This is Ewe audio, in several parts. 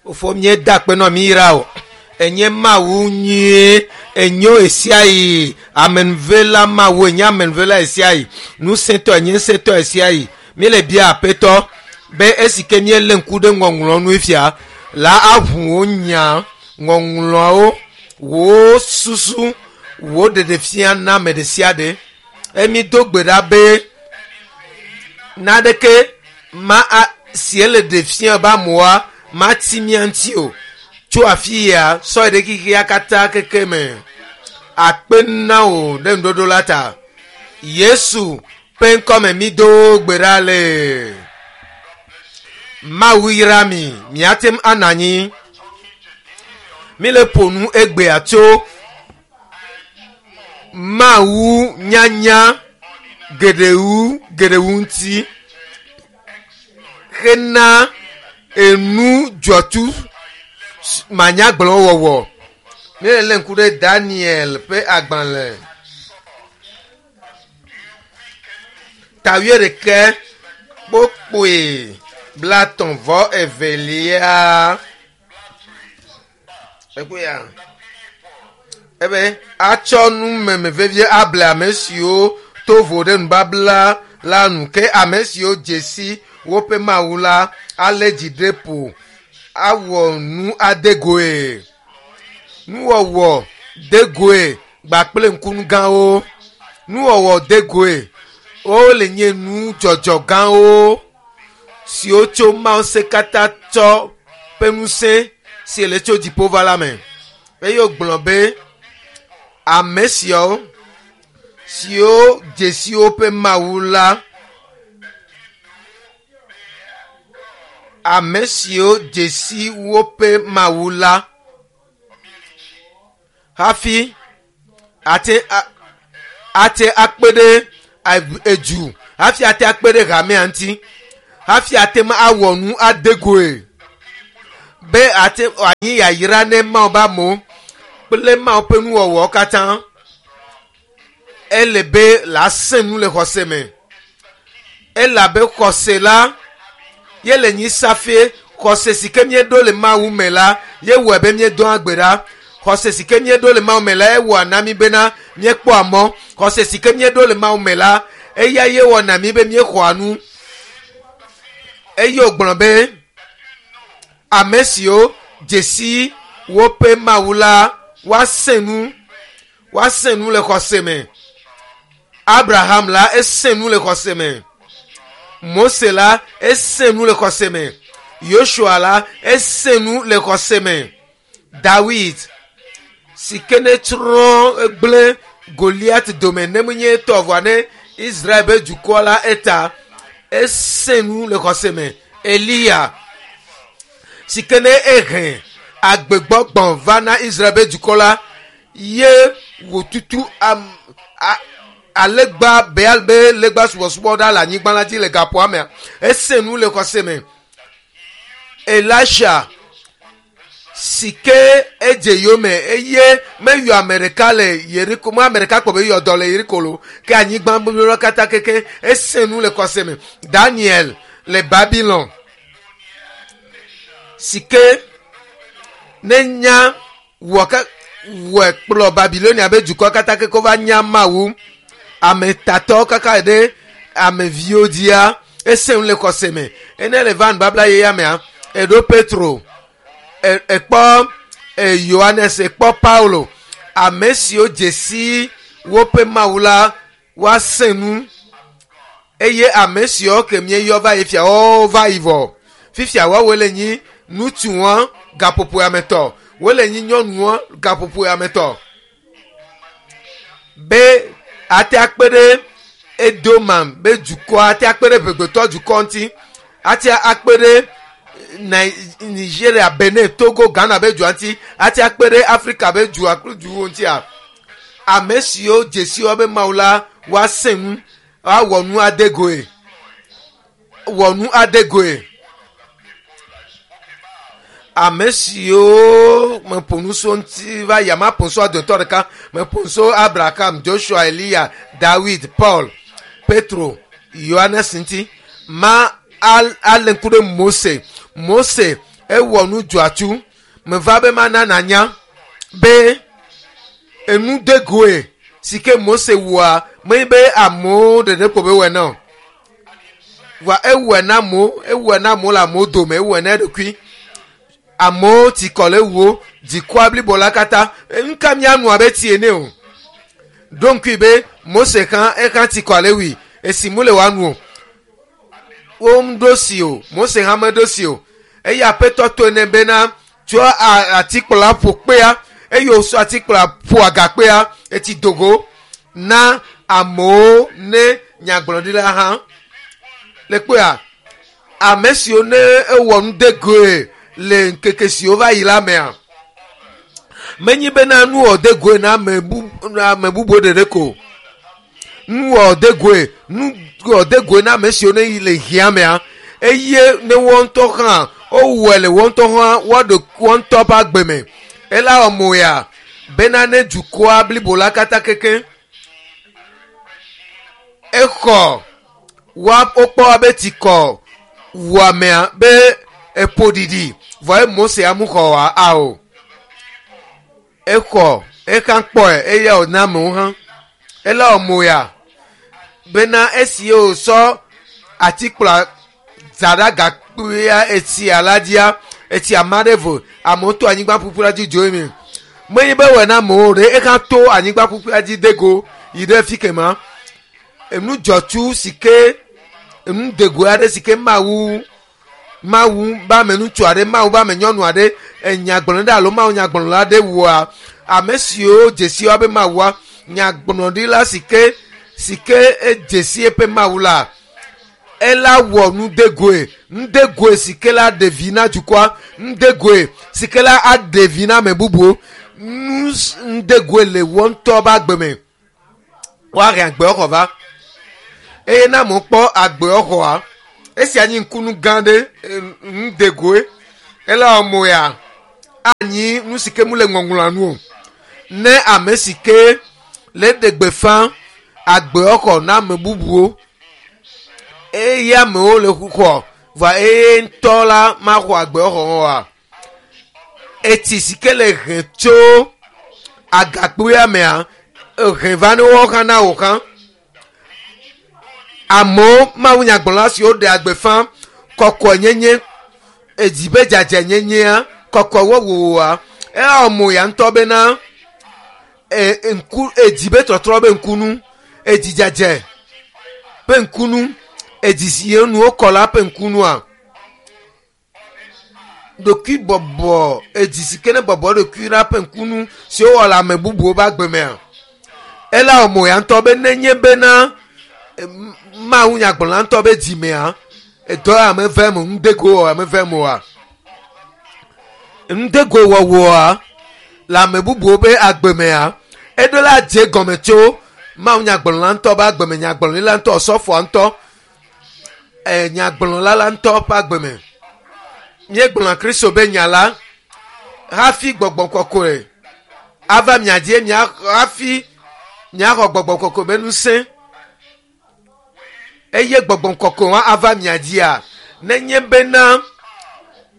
Fofo míeda akpe nɔ mí yra o. Enye Mawu nyuie, enyo ɣesiaɣi. Amenuvela Mawu enye amenuvela ɣesiaɣi. Ŋusẽtɔ enye ŋusẽtɔ ɣesiaɣi. Míele bia Aƒetɔ be esi ke míelé ŋku ɖe ŋɔŋlɔ nu fia la aʋu wò nya, ŋɔŋlɔawo, wò susu, wò ɖeɖefia na ame ɖe sia ɖe. Emi do gbe ɖa be naneke ma a, si ele ɖe fia be amewoa mati mía ŋuti o. Tso afi ya sɔ yi ɖe xexea katã keke me. Akpe na wò ɖe ŋuɖoɖo la ta. Yesu ƒe ŋkɔme mi do gbe ɖa le. Mawu yra mi, miate ŋu anɔ anyi. Mi le ƒo nu egbea tso Mawu nyanya geɖewu geɖewu ŋuti hena enu dzɔtsu manyagblɔ wɔwɔ. Míele lé ŋku ɖe Daniel ƒe agbalẽ ta wuiɖekɛ kpokpoe blatɔ̃ vɔ evelia. Ekpɔe ebe atsɔ numeme vevie able ame siwo to vo ɖe nubabla la nu ke ame siwo dze si woƒe Mawu la alé dzi ɖe ƒo awɔ nu ade goe. Nuwɔwɔ de goe gbakple ŋkunu gãwo. Nuwɔwɔ de goe wole nye nudzɔdzɔ gãwo siwo tso Mawu se katã tsɔ ƒe ŋusẽ si le tso dziƒo va la me. Eye wògblɔ be ame siawo siwo dze si woƒe Mawu la, ame siwo dze si woƒe Mawu la hafi ate ate akpe ɖe edu hafi ate akpe ɖe hamea ŋuti hafi ate ŋu awɔ nu ade goe be ate anyi yayra ne Mawu be amewo kple Mawu ƒe nuwɔwɔwo katã. Ele be la sẽ nu le xɔse me. Elabe xɔse la ye le nyi safie. Xɔse si ke míeɖo le Mawu me la ye wɔe be míedoa gbe ɖa. Xɔse si ke míeɖo le Mawu me la ewɔa na mí bena míekpɔa mɔ. Xɔse si ke míeɖo le Mawu me la eya ye wɔna mí be míexɔa nu. Eye wògblɔ be ame siwo dze si woƒe Mawu la woasẽ nu, woasẽ nu le xɔse me. Abraham la esẽ nu le xɔse me. Mose la esẽ nu le xɔse me. Yosua la esẽ nu le xɔse me. Dawid si ke ne tsrɔ̃ egblẽ Goliat dome ne menye etɔ vɔa ne Israel be dukɔ la eta esẽ nu le xɔse me. Eliya si ke ne ehe agbegbɔgbɔ va na Israel be dukɔ la ye wòtutu am, a, alegba Baal be legba subɔsubɔ ɖa le anyigba la dzi le gaƒoa mea esẽ nu le xɔse me. Elisha si ke edze yome eye meyɔ ame ɖeka le Yeriko, me ame ɖeka kpɔ be yɔ dɔ le Yeriko lo ke anyigba blibo katã keke esẽ nu le xɔse me. Daniel le Babylon si ke ne nya wɔ ke wɔe kplɔ Babilonia be dukɔ katã keke wova nya Mawu ame tatɔwo kaka ɖe ameviwo dzia esẽ nu le xɔse me. Ene le va nubabla yeyea mea eɖo Petro ekpɔ Yohanes ekpɔ Paulo ame siwo dze si woƒe Mawu la woasẽ nu eye ame siwo ke míeyɔ va yi fia woawo va yi vɔ. Fifia woawoe le nyi ŋutsuwo gaƒoƒo ametɔ wole nyi nyɔnuwo gaƒoƒo ametɔ be ate akpe ɖe Edoma be dukɔ ate akpe ɖe ʋegbetɔ dukɔ ŋuti ate akpe ɖe Nigeria, Benin, Togo, Ghana be dua ŋuti ate akpe ɖe Afrika be dua kple duwo ŋutia. Ame siwo dze si woabe Mawu la woasẽ nu woawɔ nu ade goe wɔ nu ade goe. Ame siwo meƒo nu so ŋuti va yi ama ƒo nu so dometɔ ɖeka meƒo nu so Abraham, Joshua, Eliya, Dawid, Paul, Petro, Yohanes ŋuti ma ale ŋku ɖe Mose. Mose Ewɔ nu dzɔatsu. Meva be mana nanya be enu de goe si ke Mose wɔa menye be amewo ɖeɖe ko be wɔe na o. Vɔa ewɔe na amewo, ewɔe na amewo le amewo dome, ewɔe na eɖokui. Amewo tsi kɔ le ewuwo, dzikua blibo la katã. Nu ka míanu abe tsi ene o. Ɖo ŋkui be Mose hã ehã tsi kɔ le ewui esi mu le woanu o. Womeɖo si o, Mose hã meɖo si o. Eye Aƒetɔ to nɛ bena tsɔ atikplɔ ƒo kpea eye wòsɔ atikplɔ ƒo agakpea etsi dogo na amewo ne nyagblɔɖila hã. Le kpea, ame siwo ne ewɔ nu de goe le ŋkeke siwo va yi la mea, menyi bena nu wɔ de goe na ame bu ame bubuwo ɖeɖe ko. Nu wɔ de goe nu wɔ de goe na ame siwo ne yi le hiã mea eye ne wɔn ŋutɔ hã wowɔe le wɔn ŋutɔ hã woaɖo wɔn ŋutɔ ƒe agbe me. Ela wɔ mo ya bena ne dukɔa blibo la katã keke exɔ wa wokpɔ abe tsikɔ wuamea be eƒo ɖiɖi vɔ ye Mose amu xɔ wa ao. Exɔ exa kpɔe eye wòna amewo hã. Ela wɔ mo ya bena esi wòsɔ atikplɔ za ɖe agakpea etsia la dzia etsi ama ɖe vo amewo to anyigba ƒuƒu la dzi dzo eme. Menye be wɔe na amewo ɖe exa to anyigba ƒuƒu la dzi de go yi ɖe fi kema. Enu dzɔtsu si ke enu dego aɖe si ke Mawu Mawu be ame ŋutsu aɖe Mawu be ame nyɔnu aɖe enyagblɔɖi alo Mawu nyagblɔɖila aɖe wɔa ame siwo dzesi woabe Mawua nyagblɔɖila si ke si ke edzesi eƒe Mawu la ela wɔ nudegoe nudegoe si ke la ɖe vi na dukɔa nudegoe si ke la aɖe vi na ame bubuwo nu nudegoe le wɔ ŋutɔ ƒe agbe me woahe agbewoxɔ va eye na amewo kpɔ agbewoxɔa esia nyi ŋkunu gã ɖe nudegoe ela wɔ mo ya anyi nu si ke mu le ŋɔŋlɔa nu o ne ame si ke le ɖe gbeƒã agbewoxɔ na ame bubuwo eye amewo le xɔ vɔa eye ŋutɔ la maxɔ agbewoxɔ oa etsi si ke le he tso agakpea mea ehe va ne woawo hã na wò hã amewo Mawu nyagblɔla siwo ɖea gbeƒã kɔkɔenyenye edzi be dzadzɛnyenyea kɔkɔewɔwɔa ewɔ mo ya ŋutɔ bena e ŋku edzi be trɔtrɔ be ŋkunu edzi dzadze ƒe ŋkunu edzi si nuwo kɔ la ƒe ŋkunua ɖokui bɔbɔ edzi si ke ne bɔbɔ ɖokui la ƒe ŋkunu si wowɔ le ame bubuwo ƒe agbe mea ela wɔ mo ya ŋutɔ be nenye bena Mawu nyagblɔla ŋutɔ be dzimea edɔ ya meve me nudego wɔ meve me oa nudego wɔwɔa le ame bubuwo be agbe mea eɖo la dze gɔme tso Mawu nyagblɔla ŋutɔ be agbe me nyagblɔɖila ŋutɔ osɔfoa ŋutɔ nyagblɔla la ŋutɔ ƒe agbe me. Míegblɔna Kristo be nya la hafi gbɔgbɔ kɔkɔe ava mia dzi mia hafi miaxɔ gbɔgbɔ kɔkɔe be ŋusẽ eye gbɔgbɔ kɔkɔe wa ava mia dzia nenye bena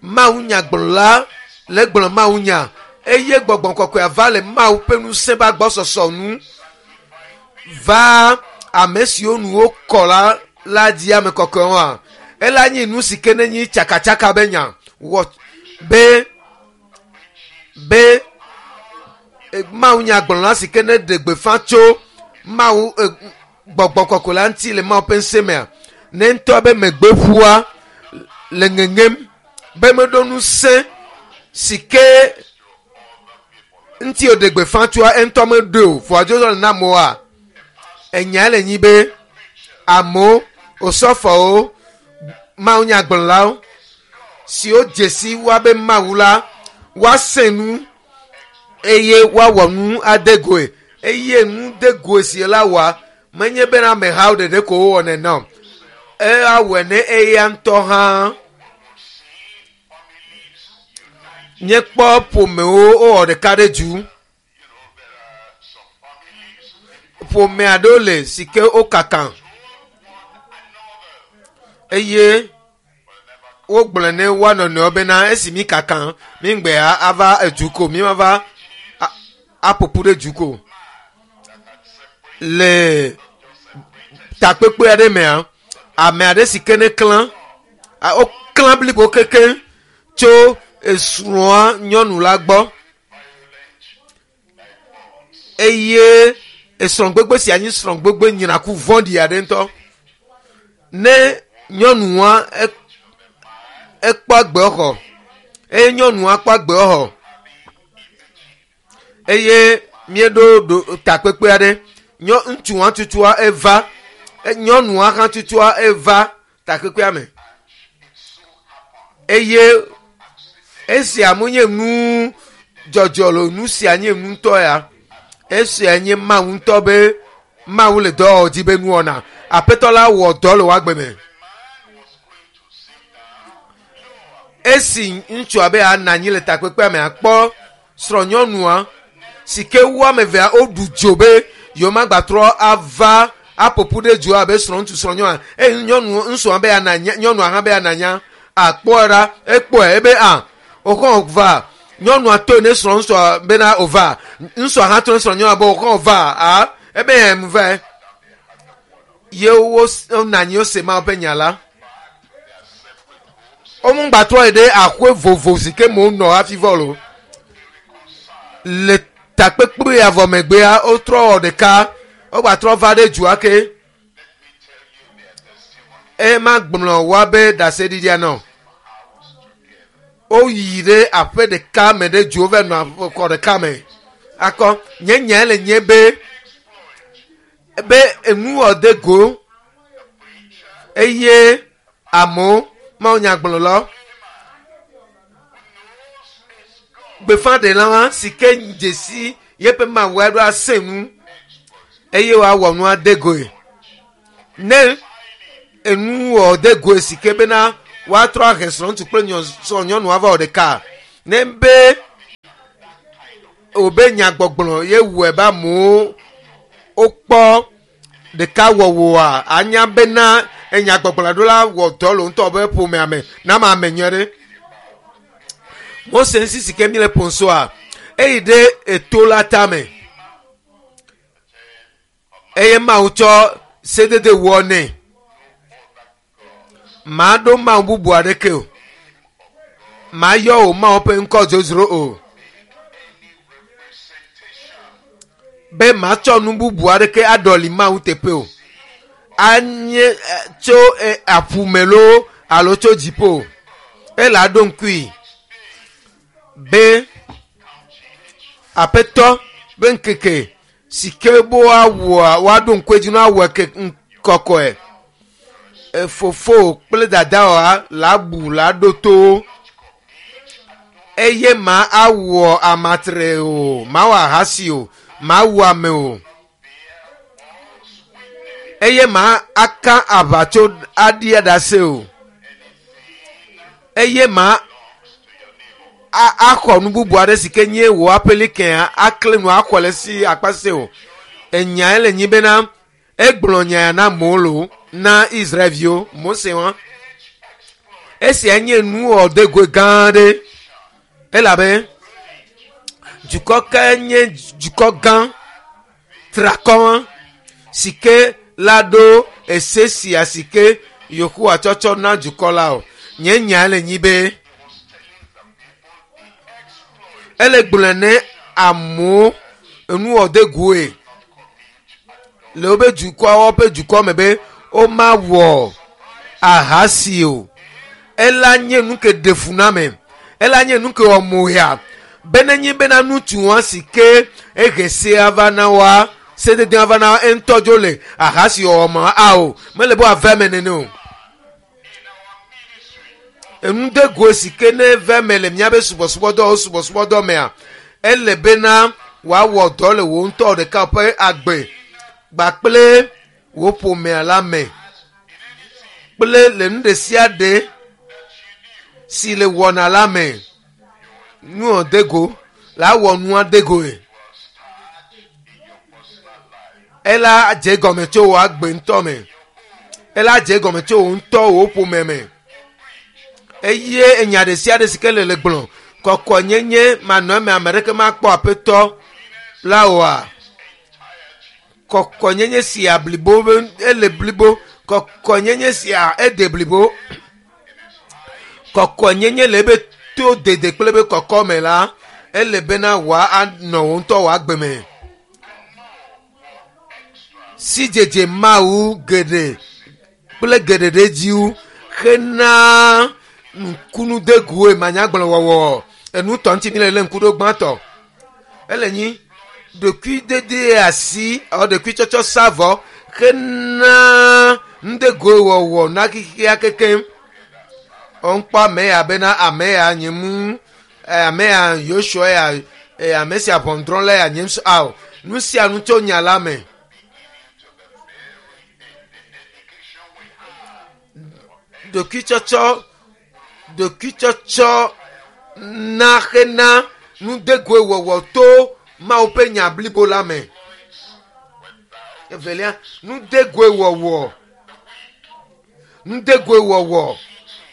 Mawu nyagblɔla le gblɔ Mawu nya eye gbɔgbɔ kɔkɔe ava le Mawu ƒe ŋusẽ ƒe agbɔsɔsɔ nu va ame siwo nu wokɔ la la dzi ame kɔkɔewoa ela nyi nu si ke ne nyi tsakatsaka be nya wɔ be be Mawu nyagblɔla si ke ne ɖe gbeƒã tso Mawu gbɔgbɔ kɔkɔe la ŋuti le Mawu ƒe ŋusẽ mea ne ŋutɔ be megbe ƒua le ŋeŋem be meɖo ŋusẽ si ke ŋuti wòɖe gbeƒã tsoa eŋutɔ meɖoe o vɔa dzo le na amewoa enya le nyi be amewo osɔfowo Mawu nyagblɔlawo siwo dzesi woabe Mawu la woasẽ nu eye woawɔ nu ade goe eye nu de goe si la wɔa menye bena amehawo ɖeɖe ko wowɔnɛ na o ewɔe ne eya ŋutɔ hã míekpɔ ƒomewo wowɔ ɖeka ɖe du ƒome aɖewo le si ke wokaka eye Wogblɔ ne woa nɔnɔewo bena esi mi kaka mi ŋgbɛ ava edu ko mi ma va aƒoƒu ɖe du ko. Le takpekpe aɖe mea, ame aɖe si ke ne klã, woklã blibo kekeŋ tso esrɔ̃a nyɔnu la gbɔ eye esrɔ̃gbegbe sia nye srɔ̃gbegbe nyraku vɔ̃ɖi aɖe ŋutɔ. Ne nyɔnua ekpɔ agbexɔ eye nyɔnua kpɔ agbexɔ eye míeɖo ɖo takpekpe aɖe nyɔ ŋutsua tutua eva nyɔnua hã tutua eva takpekpea me eye esia menye nu dzɔdzɔ lo nu sia nye nu ŋutɔ ya esia nye mawu ŋutɔ be mawu le dɔ dzi be nuwɔna aƒetɔ la wɔ dɔ le woagbe me esi ŋutsua be anɔ anyi le takpekpea me akpɔ srɔ̃nyɔnua si ke wo ame evea woɖu dzo be yewomagbatrɔ ava aƒoƒu ɖe dzo abe srɔ̃ŋutsu srɔ̃nyɔnua eye nyɔnu ŋutsua be ana nya nyɔnua hã be ana nya akpɔe ɖa ekpɔe ebe a woxɔ va nyɔnua to ne srɔ̃ ŋutsua bena wòva ŋutsua hã to ne srɔ̃nyɔnua be wòxɔ va a ebe em va ye wo nɔ anyi wose Mawu ƒe nya la womegbatrɔ yi ɖe aƒe vovo si ke me wonɔ hafi vɔ lo le takpekpe ya vɔ megbea wotrɔ wɔ ɖeka wogbatrɔ va ɖe dua ke ema gblɔ woabe ɖaseɖiɖia nɔ woyi ɖe aƒe ɖeka me ɖe dzo va nɔ xɔ ɖeka me akɔ nye nya le nye be be enuwɔ de go eye amewo mawu nyagblɔlawo gbeƒãɖela si ke dzesi yeƒe mawu aɖo ase nu eye wòawɔ nua de goe ne enuwɔ de goe si ke bena woatrɔ ahe srɔ̃ŋutsu kple srɔ̃nyɔnu ava wɔ ɖeka ne be wobe nyagbɔgblɔ ye wɔe be amewo wokpɔ ɖeka wɔwɔa anya bena enyagbɔgblɔ ɖo la wɔ dɔ le ŋutɔ be ƒomea me na ma ame nyuie ɖe. Mose ŋuti si ke mi le ƒonsoa eyi ɖe eto la tame eye Mawu tsɔ sedede wɔ nɛ. Maɖo Mawu bubu aɖeke o. Mayɔ wò Mawu ƒe ŋkɔ dzodzro o. Be matsɔ nu bubu aɖeke aɖɔli Mawu teƒe o. Anye tso aƒu me loo alo tso dziƒo. Ele aɖo ŋkui be aƒetɔ be ŋkeke si ke be woawɔa woaɖo ŋku edzi na woawɔ ke kɔkɔe. Fofo kple dadawoa la bu la ɖo to eye ma awɔ amatre o, ma wɔ ahasi o, ma wu ame o. Eye ma aka aʋatso aɖi aɖase o. Eye ma axɔ nu bubu aɖe si ke nye wò aƒelikɛa akle nu axɔ le si akpa se o. Enyae le nyi bena egblɔ nya ya na amewo lo na Israelviwo Mose wa. Esia nye nuwɔdegoe gã aɖe elabe dukɔ ke nye dukɔ gã trakɔ si ke la ɖo ese sia si ke Yehowa tsɔtsɔ na dukɔ la o. Nye nya le nyi be ele gblɔe ne amewo enuwɔdegoe le wobe dukɔawo ƒe dukɔ me be womawɔ ahasi o. Ela nye nu ke ɖe fu na ame. Ela nye nu ke wɔ moya. Be nenye bena ŋutsua si ke ehe sea va na woa, sededea va na woa, eŋutɔ dzo le ahasi wɔwɔ me ao. Mele be wòave eme nene o. Enudegoe si ke ne ve eme le míabe subɔsubɔdɔ subɔsubɔdɔ mea, ele bena wòawɔ dɔ le wò ŋutɔ ɖeka ƒe agbe kpakple wò ƒomea la me kple le nu ɖe sia ɖe si le wɔna la me. Nuwɔ de go la wɔ nua de goe. Ela dze gɔme tso wò agbe ŋutɔ me. Ela dze gɔme tso wò ŋutɔ wò ƒome me. Eye enya ɖe sia ɖe si ke le le gblɔ kɔkɔnyenye manɔ eme ame ɖeke makpɔ aƒetɔ la oa. Kɔkɔnyenye sia blibo be ele blibo. Kɔkɔnyenye sia ede blibo. Kɔkɔnyenye le ebe to dede kple ebe kɔkɔme la ele bena wòa anɔ wò ŋutɔ wò agbe me. Sidzedze Mawu geɖe kple geɖe ɖe edzi wu hena nukunudegoe manyagblɔ wɔwɔ. Enu tɔ ŋuti mi le lé ŋku ɖo gbãtɔ. Ele nyi ɖokuidede asi alo ɖokuitsɔtsɔ sa vɔ hena nudegoe wɔwɔ na xexea kekem. Ŋkpɔ ame ya bena ame ya nye mu ame ya Yosua ya ame sia ʋɔnudrɔ̃la ya nye ŋu ao. Nu sia nu tso nya la me. Ɖokuitsɔtsɔ ɖokuitsɔtsɔ na hena nudegoe wɔwɔ to Mawu ƒe nya blibo la me. Evelia, nudegoe wɔwɔ nudegoe wɔwɔ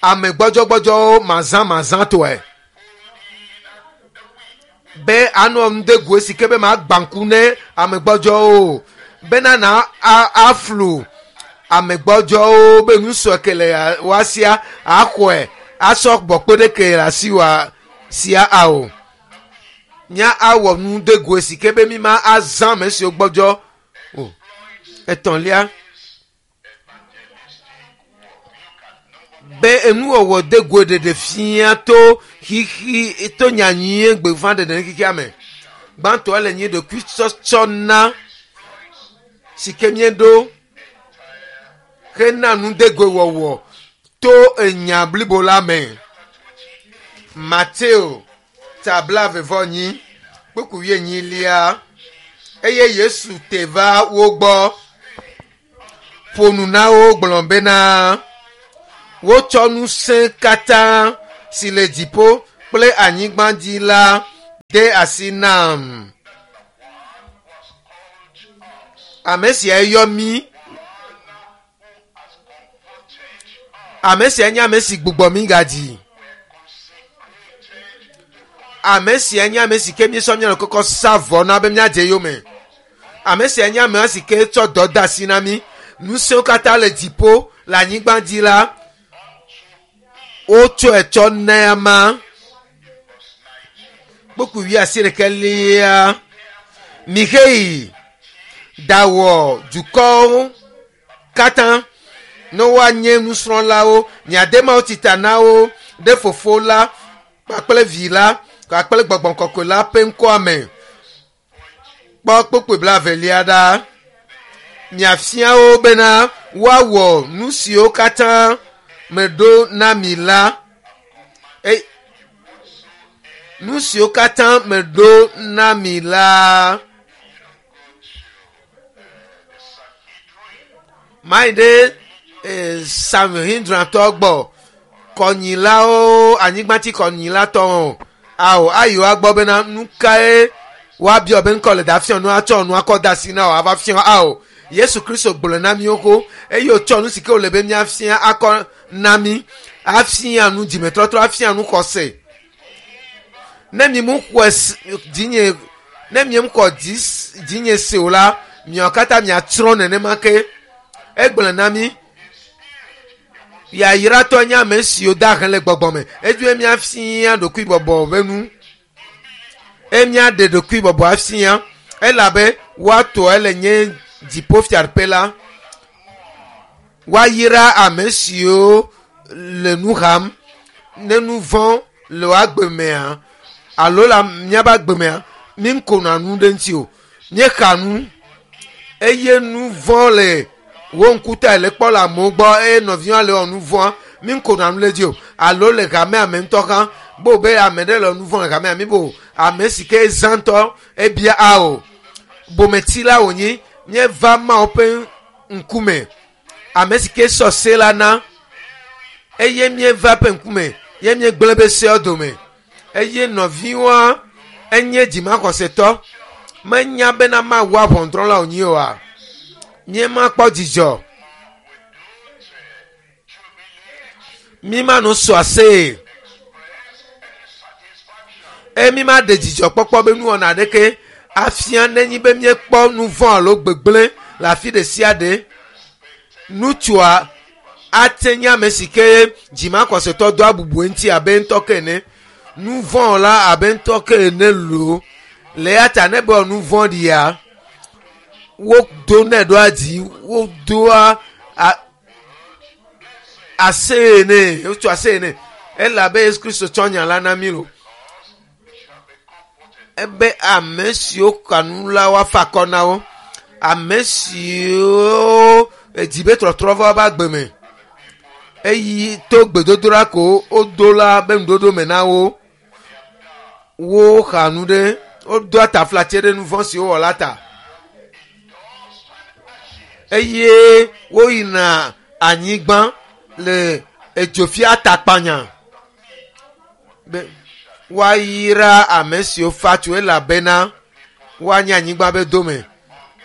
ame gbɔdzɔgbɔdzɔwo mazãmazãtɔe be anɔ nudegoe si ke be magba ŋku ne ame gbɔdzɔwo o bena na aflu ame gbɔdzɔwo be nusɔ ke le woasia axɔe asɔ gbɔ kpe ɖe ke le asi wa sia ao. Mía awɔ nudegoe si ke be mi ma azã ame siwo gbɔdzɔ o. Etɔ̃lia, be enuwɔwɔ degoe ɖeɖe fia to xixi to nyanyuie gbeƒã ɖeɖe ne xexea me. Gbãtɔ le nyi ɖokuitsɔtsɔ na si ke míeɖo hena nudegoe wɔwɔ to enya blibo la me. Mateo ta 42 kpukpui wuienyilia eye Yesu te va wo gbɔ ƒo nu na wo gblɔ bena wotsɔ ŋusẽ katã si le dziƒo kple anyigba dzi la de asi nam. Ame sia yɔ mí. Ame sia nye ame si gbugbɔ mí gadzi. Ame sia nye ame si ke míesɔ mía ɖokui kɔ sa vɔ na be míadze yome. Ame sia nye ame si ke tsɔ dɔ de asi na mí. Ŋusẽwo katã le dziƒo le anyigba dzi la, wotsɔe tsɔ na ama. Kpukpui wuiasiɖekɛlia. Mixeyi ɖawɔ dukɔwo katã ne woanye nusrɔ̃lawo. Miade Mawu tita na wo ɖe Fofo la kpakple Vi la kpakple Gbɔgbɔ Kɔkɔe la ƒe ŋkɔa me. Kpɔ kpukpui blaevelia ɖa. Miafia wo bena woawɔ nu siwo katã meɖo na mi la. Nu siwo katã meɖo na mi la. Mayi ɖe Sanhedrintɔ gbɔ kɔnyilawo anyigbatsi kɔnyilatɔwo ao ayi woagbɔ bena nu kae woabiɔ be ŋkɔ le da fiɔ nu atsɔ nu akɔ da asi na wo ava fiɔ ao. Yesu Kristo gblɔ na míwo ko eye wòtsɔ nu si ke wòle be míafia akɔ na mí afia nu dzimetɔtrɔ afia nu xɔse. Ne mi mu xɔe dzinye ne mi xɔ dzinye se o la miawo katã miatsrɔ̃ nenema ke. Egblɔ na mí yayratɔ nye ame siwo da he le gbɔgbɔ me. Edzoe míafia ɖokuibɔbɔ ƒe nu. Eye míaɖe ɖokuibɔbɔ afia elabe woatɔ ele nye dziƒofiaɖuƒe la. Woayra ame siwo le nu xam ne nu vɔ̃ le wo agbe mea alo le míaƒe agbe mea mí ŋkona nu ɖe ŋuti o. Míexa nu eye nu vɔ̃ le wo ŋkuta le kpɔ le amewo gbɔ eye nɔviwo le wɔ nu vɔ̃a mí ŋkona nu le dzi o alo le hamea me ŋutɔ hã bo be ame ɖe le nu vɔ̃ le hamea mi bo ame si ke zã ŋutɔ ebia ao bometsi la wònyi míeva Mawu ƒe ŋkume ame si ke sɔ se la na eye míeva ƒe ŋkume ye míegblẽ be seawo dome eye nɔviwoa enye dzimaxɔsetɔ menya bena Mawu ʋɔnudrɔ̃la wònyi oa míemakpɔ dzidzɔ. Mi ma no sɔ aseye eye mi ma ɖe dzidzɔkpɔkpɔ be nuwɔna aɖeke afia nenyi be míekpɔ nu vɔ̃ alo gbegblẽ le afi ɖe sia ɖe. Ŋutsua ate nye ame si ke dzimakɔsetɔ doa bubu eŋuti abe ŋutɔ ke ene. Nu vɔ̃ la abe ŋutɔ ke ene loo. Le eya ta ne be nu vɔ̃ ɖia, wodonɛ ɖoa dzi, wodoa aseye nɛ, wotso aseye nɛ. Elabe Yesu Kristo tsɔ nya la na mí lo. Ebe ame siwo ka nu la woafa akɔ na wo. Ame siwo edzi be trɔtrɔ va woƒe agbe me eyi to gbedodoɖa ko wodo la be nuɖoɖo me na wo. Woxa nu ɖe, wodoa taflatse ɖe nu vɔ̃ si wowɔ la ta. Eye woyina anyigba le edzofia atakpanya be woayra ame siwo fa tso elabena woanye anyigba be dome.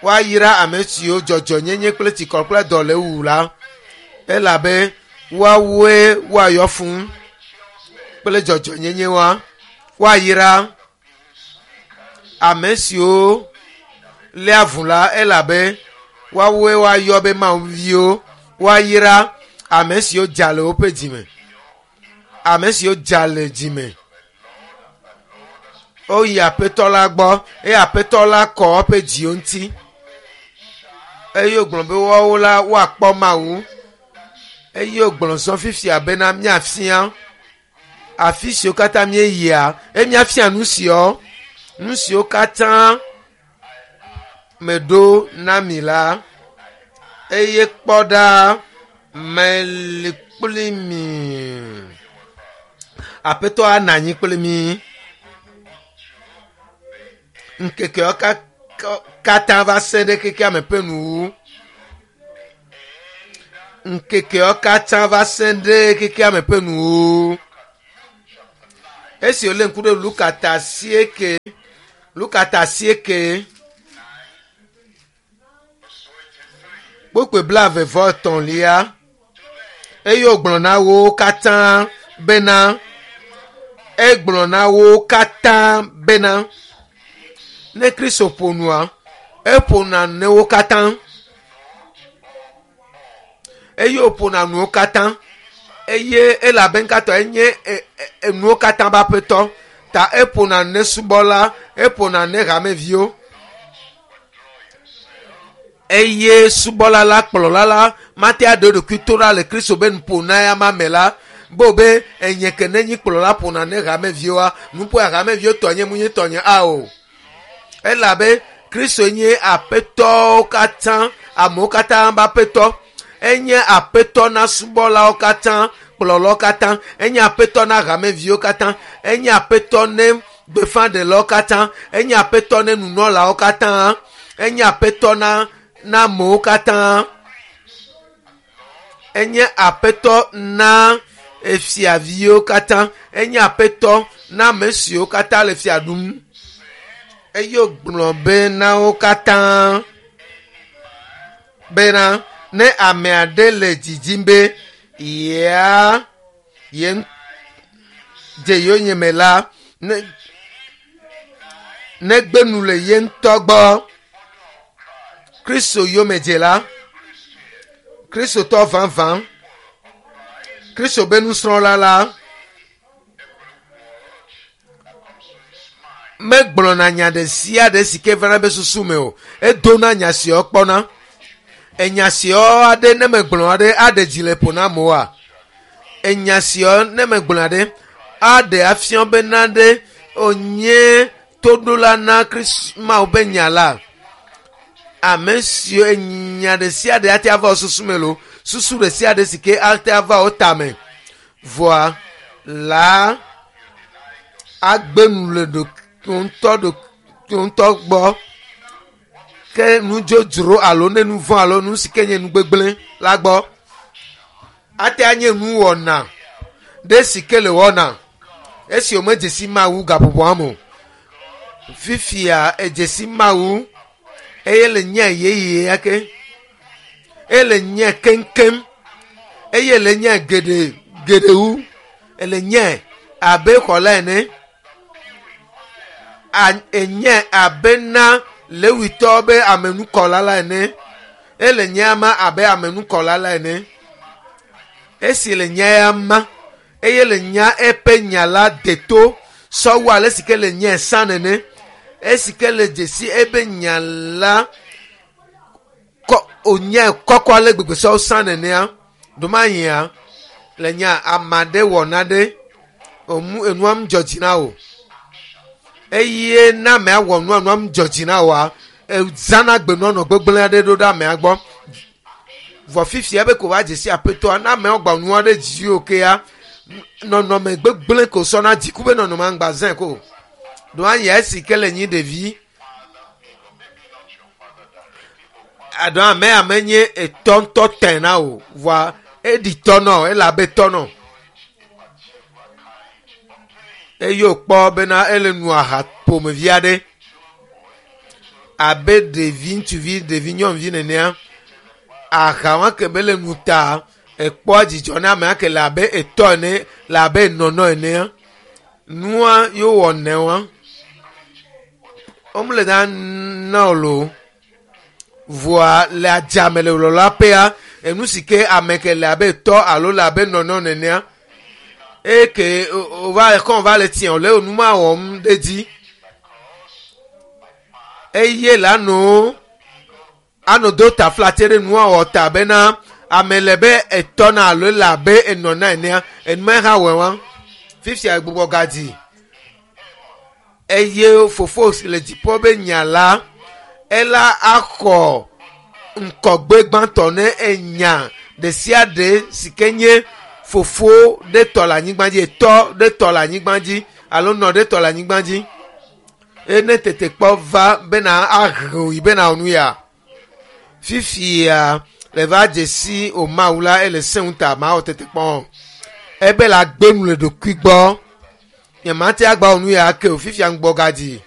Woayra ame siwo dzɔdzɔnyenye kple tsikɔ kple dɔ le wu la elabe woawoe woayɔ fũ kple dzɔdzɔnyenye wa. Woayra ame siwo léa avu la elabe woawoe woayɔ be Mawu viwo. Woayra ame siwo dza le woƒe dzime. Ame siwo dza le dzime. Woyi aƒetɔ la gbɔ eye aƒetɔ la kɔ eƒe dziwo ŋuti eye wògblɔ be woawo la woakpɔ Mawu eye wògblɔ zɔ fifia bena míafia afi siwo katã míeyia eye míafia nu siwo nu siwo katã meɖo na mi la eye kpɔ ɖa meli kpli mi. Aƒetɔ anɔ anyi kpli mi. Ŋkekeawo katã va se ɖe xexea me ƒe nuwu. Ŋkekeawo katã va se ɖe xexea me ƒe nuwu. Esi wòlé ŋku ɖe Luka ta 8, Luka ta 8, kpukpui 33 eye wògblɔ na wo katã bena, egblɔ na wo katã bena, ne Kristo ƒo nua, eƒona ne wo katã. Eye wòƒona nuwo katã. Eye elabe ŋkatɔ enye enuwo katã be aƒetɔ. Ta eƒona ne subɔla, eƒona ne hameviwo. Eye subɔla la, kplɔla la, mate aɖe eɖokui to ɖa le Kristo be nuƒona ya ma me la, bo be enye ke ne nyi kplɔla ƒona ne hameviwoa, nuƒoa hameviwo tɔ nye mu nye tɔ nye ao. Elabe Kristo nye aƒetɔwo katã, amewo katã be aƒetɔ. Enye aƒetɔ na subɔlawo katã, kplɔlawo katã. Enye aƒetɔ na hameviwo katã. Enye aƒetɔ ne gbeƒãɖelawo katã. Enye aƒetɔ ne nunɔlawo katã. Enye aƒetɔ na na amewo katã. Enye aƒetɔ na efiaviwo katã. Enye aƒetɔ na ame siwo katã le fia ɖum. Eye wògblɔ be na wo katã bena ne ame aɖe le didim be yea ye dze yonyeme la, ne negbe nu le ye ŋutɔ gbɔ. Kristo yomedzela, Kristotɔ vavã, Kristo be nusrɔ̃la la, megblɔna nya ɖe sia ɖe si ke vana be susu me o. Edona nya siawo kpɔna. Enya siawo aɖe ne megblɔ aɖe aɖe dzi le ƒo na amewoa? Enya siawo ne megblɔ aɖe aɖe afia bena ɖe wònye toɖola na Kristo Mawu be nya la. Ame siwo enya ɖe sia ɖe ate ava wo susu me lo, susu ɖe sia ɖe si ke ate ava wo tame. Vɔa la agbe nu le ɖokuiwo ŋutɔ gbɔ. Ke nudzodzro alo ne nu vɔ̃ alo nu si ke nye nu gbegblẽ la gbɔ. Ate anye nuwɔna ɖe si ke le wɔna esi womedze si Mawu gaƒoƒoa me o. Fifia edze si Mawu eye le nye yeye ya ke. Eye le nye keŋkeŋ. Eye le nye geɖe Geɖe wu ele nye abe xɔla ene, enye abe na lewitɔ be amenukɔla la ene, ele nye ama abe amenukɔla la ene. Esi le nye ama eye le nya eƒe nya la deto sɔwu ale si ke le nye sã nene, esi ke le dzesi ebe nya la kɔ onye kɔkɔ ale gbegbe sɔwu sã nenea, ɖomanyia le nya ame aɖe wɔ nane emu enua mu dzɔ dzi na o, eye na amea wɔ nua, nua mu dzɔ dzi na oa, ezãna gbenɔnɔ gbegblẽ aɖe ɖo ɖe amea gbɔ. Vɔ fifia be ko va dzesi aƒetɔa, na ameawo gba nua ɖe dzi o kea, nɔnɔme gbegblẽ ko sɔna dziku be nɔnɔme aŋgba zẽ ko. Ɖo anya esi ke le nyi ɖevi. Aɖo ame ame nye etɔ ŋutɔ tɛ na o, vɔa eɖi tɔ nɔ, ele abe tɔ nɔ. Eye wòkpɔ bena ele nu aha ƒomevi aɖe abe ɖevi ŋutsuvi, ɖevi nyɔnuvi nenea. Aha wa ke be le nu ta ekpɔa dzidzɔ na amea ke le abe etɔ ene, le abe nɔnɔ enea. Nua yo wɔ nɛ wa. Womle na na o lo. Vɔa le adzame le lɔla ƒea, enu si ke ame ke le abe tɔ alo le abe nɔnɔ nenea, eke wova kɔ va le tiɛ le nu ma wɔm ɖe dzi. Eye la no ano do taflatse ɖe nua wɔ ta bena ame le be etɔ na alo le abe enɔ na enea, enuma hã wɔe wa. Fifia gbugbɔ gadzi. Eye fofo si le dziƒo be nya la, ela axɔ ŋkɔgbe gbãtɔ ne enya ɖe sia ɖe si ke nye fofo ɖe tɔ le anyigba dzi, etɔ ɖe tɔ le anyigba dzi alo nɔ ɖe tɔ le anyigba dzi. Ene tetekpɔ va bena ahe yi bena nu ya. Fifia le va dzesi o Mawu la ele sẽ ŋuta ma wɔ tetekpɔ. Ebe la gbe nu le ɖokui gbɔ. Nye ma te agba nu ya ke o fifia ŋgbɔ gadzi.